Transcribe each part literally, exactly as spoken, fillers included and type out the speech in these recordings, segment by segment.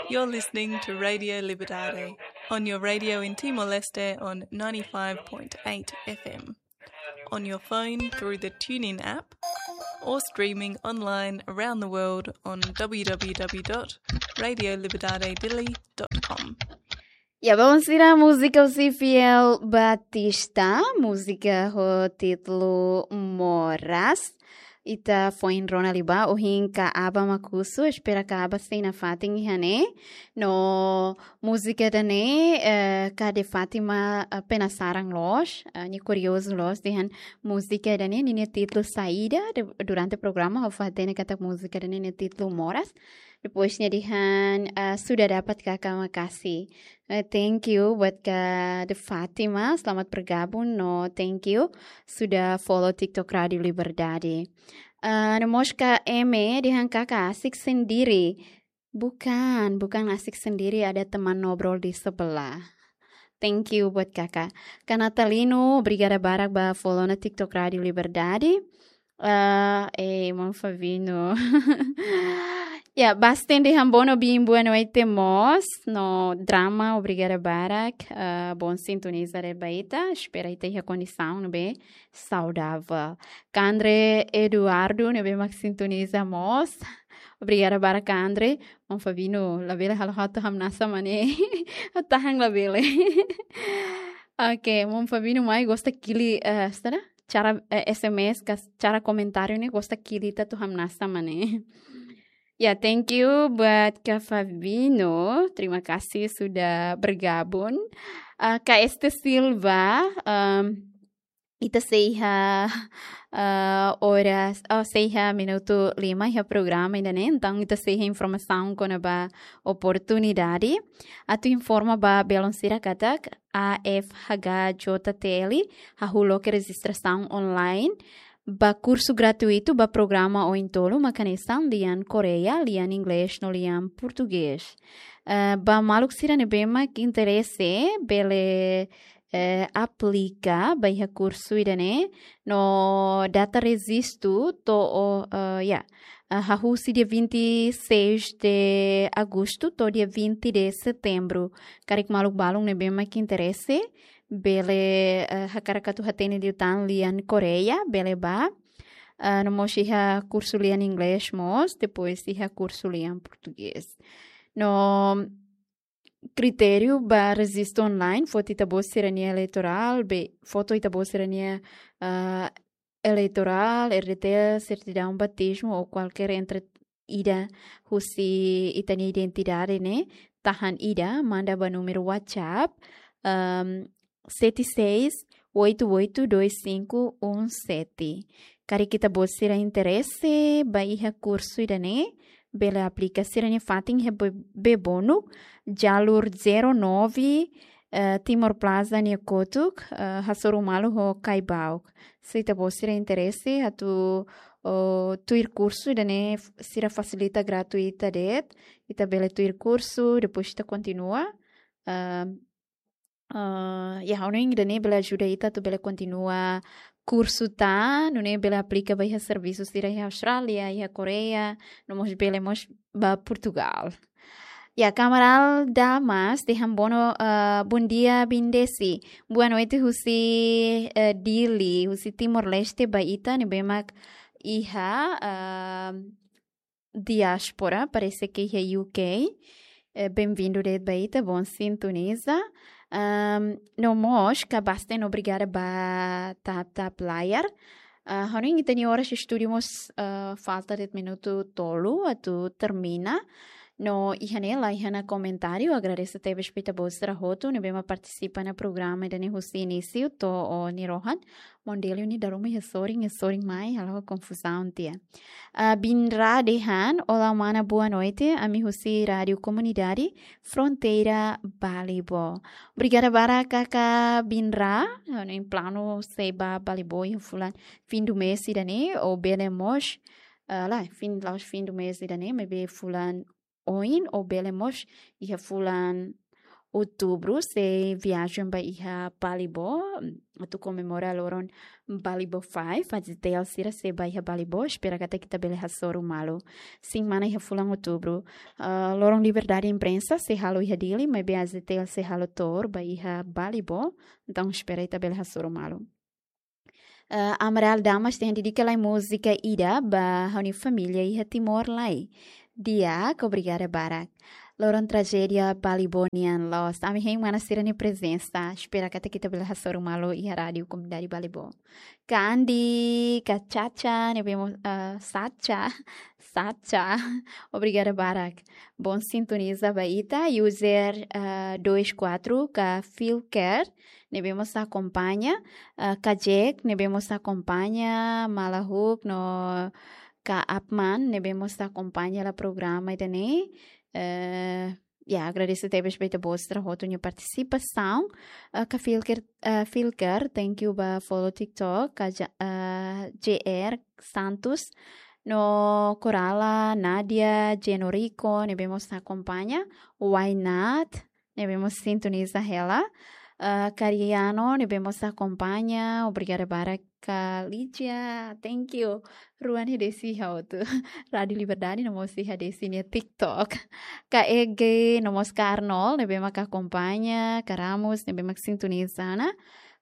You're listening to Radio Liberdade on your radio in Timor-Leste on ninety-five point eight F M, on your phone through the TuneIn app, or streaming online around the world on w w w dot radio liberdade dili dot com. Ya, ba oan sira, múzika husi Fiel Batista, múzika ho títulu Moras. Ita foin rona liu ba, ohin ka aba mak husu, espera ka aba sei nafatin iha ne'e. No múzika ida-ne'e, eh, ka de Fátima, eh, penasaran loos, eh, nia kuriozu loos dehan múzika ida-ne'e ninia títulu saida, de, durante programa ha'u fó-hatene katak múzika ida-ne'e nia títulu Moras. Depois nia dehan, ah, sudah dapat, Kakak, makasih. Eh, thank you buat Kak De Fátima, selamat bergabung, no thank you sudah follow TikTok Rádio Liberdade. Ah, no mós Kak Eme dehan, Kakak asik sendiri. Bukan, bukan asik sendiri, ada teman ngobrol di sebelah. Thank you buat Kakak. Kak Natalino, obrigada barak ba follow ona TikTok Rádio Liberdade. Ah, eh, maun Fabino. Ya, Basten dehan boa no bin, boa noite mós. No Drama, obrigada barak. Ah, bom sintoniza de'it ba ita. Espera ita iha kondisaun ne'ebé saudável. Kandre Eduardo, ne'ebé mak sintoniza mós. Obrigada barak, Kandre. Maun Fabino, labele halo ha'u atu hamnasa mak ne'e. Tahan labele. Oke, maun Fabino mai gosta kili, eh, sira? Cara, eh, S M S, kas-, cara komentáriu ne'e gosta kili ita atu hamnasa mak ne'e. Ya, thank you buat Kak Fabino. Terima kasih sudah bergabung. Ah, Kak Este Silva, em, ita sei iha, ah, oras, oh, sei iha minutu lima iha programa ida-ne'e. Entaun ita sei iha informasaun kona-ba oportunidade. Atu informa ba belun sira katak A F H J T L hahú loke rejistrasaun online ba kursu gratuitu ba programa oin tolu, mak hanesan lian Koreia, lian Inglés no lian Portugés. Eh, ba maluk sira ne'ebé mak interese, bele, eh, aplika ba iha kursu ida-ne'e, no data rejistu to'o, eh, ya, eh, hahú husi dia vinte e seis de agosto to'o dia vinte de setembro. Karik maluk balun ne'ebé mak interese, bele, eh, hakarak atu hatene liután lian Koreia, bele bá. Ah, no mós iha kursu lian Inglés mós, depois iha kursu lian Portugés. No kritériu ba rejistu online, foto ita-boot sira-nia eleitorál, be, foto ita-boot sira-nia, ah, eleitorál, R D T, sertidaun batizmu ou kualkér entre ida husi ita-nia identidade ne'e, tahan ida, manda ba númeru WhatsApp, ehm, sete seis oito oito dois cinco um sete. Karik ita-boot sira interese ba iha kursu ida-ne'e, bele aplika sira-nia fatin iha Be-, Bebonuk, jalur zero nove, eh, Timor Plaza nia kotuk, eh, hasoru malu ho Caibauk. Se ita-boot sira interese atu, oh, tuir kursu ida-ne'e f-, sira fasilita gratuita de'it, ita bele tuir kursu, depois ita kontinua. Ah, ah, ya, ha'u hanoin ida-ne'e bele ajuda ita atu bele kontinua kursu tan, nune'e bele aplika ba iha servisu sira iha Austrália, iha Koreia, no mós bele mós ba Portugal. Ya, Kamaral Damas dehan boa no, ah, bom dia, Bindesi. Boa noite husi, eh, Dili, husi Timor-Leste ba ita ne'ebé mak iha, ah, diáspora, parese ke iha U K. Eh, bem-vindo de'it ba ita, bom sintoniza. Ahm, no mós, Kak Basten, obrigada ba tap tap layar. Ah, hanoin ita-nia oras estúdiu mós, ah, falta de'it minutu tolu atu termina. No iha ne'e la iha ona komentáriu, agradese tebes ba ita-boot sira hotu ne'ebé mak partisipa iha programa ida-ne'e husi inísiu to'o nia rohan. Maun Delio nia daruman iha sorin, iha sorin mai, halo konfuzaun tiha. Ah, Binra dehan, olá mana, boa noite, ami husi Rádio Komunidade Fronteira Balibo. Obrigada barak Kak Binra, ha'u hanoin planu sei bá Balibo iha fulan fim do mês ida-ne'e, ou bele mós, ah, lae, fim, la'ós fim do mês ida-ne'e, maibé fulan oin, ou bele mós iha fulan Outubru sei viajen ba iha Balibo, atu komemora loron Balibo Five, AJTL sira sei ba iha Balibo, espera katak ita bele hasoru malu. Sin mana iha fulan Outubru. Ah, loron Liberdade Imprensa sei halo iha Dili, maibé AJTL sei halo tour ba iha Balibo, entaun espera ita bele hasoru malu. Ah, Amaral Damas dehan dedika lai múzika ida ba ha'u-nia família iha Timor lai. Di'ak, obrigada barak. Loron trajédia Balibo nian loos. Ami hein mana sira-nia prezensa. Espera katak ita bele hasoru malu iha Rádiu Komunidade Balibo. Ka Andi, ka Chacha, ne'ebé mós, ah, Sacha, Sacha. Obrigada barak. Bom sintoniza ba ita, user, ah, dois quatro, ka Filker, ne'ebé mós akompaña, ah, ka Jack, ne'ebé mós akompaña, Malahuk, no ka Apman, ne'ebé mós akompaña hela programa ida-ne'e. Eh, ya, agradese tebes ba ita-boot sira hotu nia partisipasaun. Ah, ka Filker, ah, Filker, thank you ba follow TikTok, ka Ja-, ah, J R Santos, no Corala, Nadia, Genorico, ne'ebé mós akompaña, Why Not, ne'ebé mós sintoniza hela. Ah, Cariano, ne'ebé mós akompaña, obrigada barak ka Lídia, thank you. Rua ne'e Desi iha hotu. Rádiu Liberdade no mós iha Desi nia TikTok. Ka Ege, no mós ka Arnold, ne'ebé mak akompaña, ka Ramos, ne'ebé mak sintoniza ona.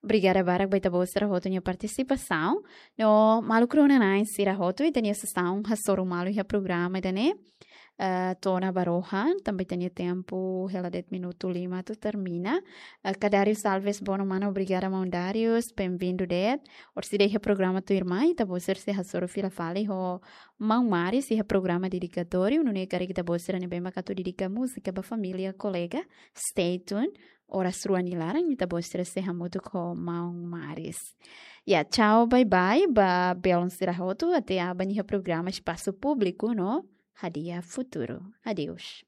Obrigada barak ba ita-boot sira hotu nia partisipasaun. No maluk rona-na'in sira hotu, ita-nia sesaun hasoru malu iha programa ida-ne'e. Eh, to'o ona ba rohan, tanba ita-nia tempu hela de'it minutu lima atu termina. Eh, ka Darius Alves Bono Mano, obrigada maun Darius, bem-vindo de'it. Orsida iha programa tuirmai, ita-boot sira sei hasoru fila fali ho maun Maris iha programa dedikatóriu, nune'e karik ita-boot sira ne'ebé mak atu dedika múzika ba família, kolega, stay tuned. Oras rua nia laran, ita-boot sira sei hamutuk ho maun Maris. Ya, tchau, bye bye, ba belun sira hotu, até aban iha programa Espasu Públiku no Hadi'a Futuru. Adeus.